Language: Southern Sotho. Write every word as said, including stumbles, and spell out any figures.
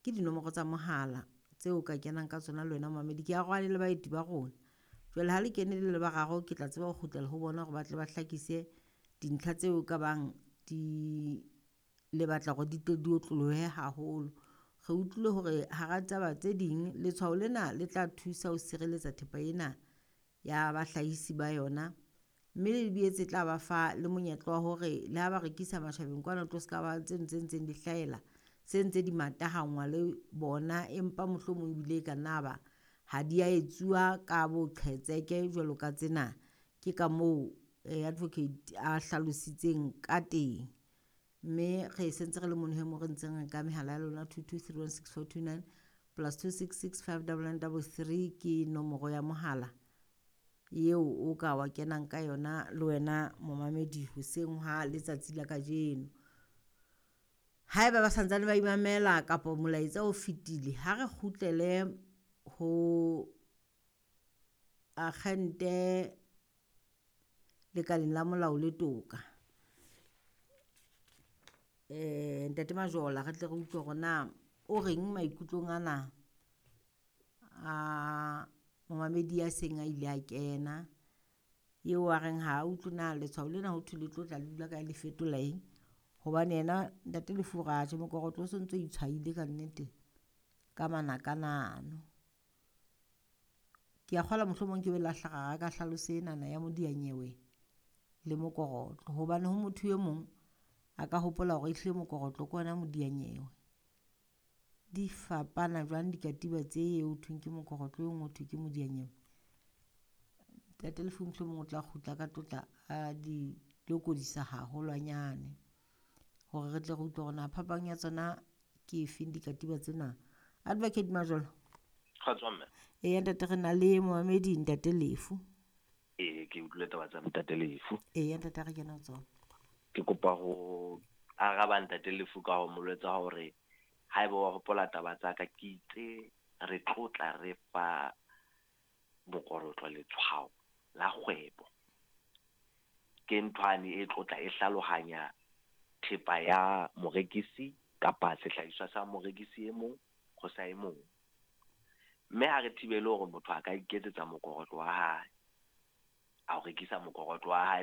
Ke dinomoro tsa mohala tseo ka kenang ka tsona le wena momamedi. Ke arohane le baeti ba rona. Jwale ha le kene le le bararo, ke tla tseba ho kgutlela ho bona hore ba tle ba hlakise dintlha tseo ka bang di le batla hore di tle di otlolohe haholo. Re utlwile hore hara taba tse ding letshwao lena le tla thusa ho sireletsa thepa ena ya bahlahisi ba yona. Mme le boetse tla ba fa le monyetla wa hore le ha ba rekisa matjhabeng kwana tlo ska ba tseno tse ntseng di hlahela se ntse di matahangwa le bona, empa mohlomong ebile e ka nna ba ha di a etsuwa ka boqhetseke jwalo ka tsena. Ke ka moo advocate a hlalositseng ka teng. Mme re sentse re le mono hee moo re ntseng re nka mehala ya lona two two three one six four two nine plus two six six five double nine double three ke nomoro ya mohala eo o ka wa kenang ka yona le wena momamedi hoseng ha letsatsi la kajeno. Haeba ba santsane ba imamela kapa molaetsa o fetile, ha re kgutlele ho akgente lekaleng la molao le toka. Eh Ntate Majola re tle re utlwe hore na o reng maikutlong ana a momamedi ya seng a ile a kena eo a reng ha utlwe na letshwao lena ho thwe le tlo tla le dula kae le fetola eng. Hobane yena Ntate Lefu o re atjhe mokorotlo o sontso itshwaile ka nnete ka manakana ano. Ke a kgolwa mohlomong ke be la hlahara ka hlaloso enana ya modiyanyewe le mokorotlo. Hobane ho motho e mong a ka hopola hore ehlile mokorotlo ke ona modiyanyewe. Di fapana jwang dikatiba tse ho thweng ke mokorotlo e nngwe ho thwe ke modiyanyewe. Ntate Lefu mohlomong o tla kgutla ka tlotla a di lokodisa haholwanyane hore re tle re utlwe hore na phapang ya tsona ke efeng dikatiba tsena. Advocate Majola. Kgotso mme. Eya ntate re na le momamedi Ntate Lefu. Ee, ke utlwile taba tsa Ntate Lefu. Eya ntate a re kena ho tsona. Ke kopa ho araba Ntate Lefu ka ho mo jwetsa hore haeba wa hopola taba tsa ka, ke itse re tlotla re fa mokorotlo letshwao la kgwebo. Ke nthwane e tlotla e hlalohanya thepa ya morekisi kapa sehlahiswa sa morekisi e mong ho sa e mong. Mme ha re thibele hore motho a ka iketsetsa mokorotlo wa hae, a o rekisa mokorotlo wa hae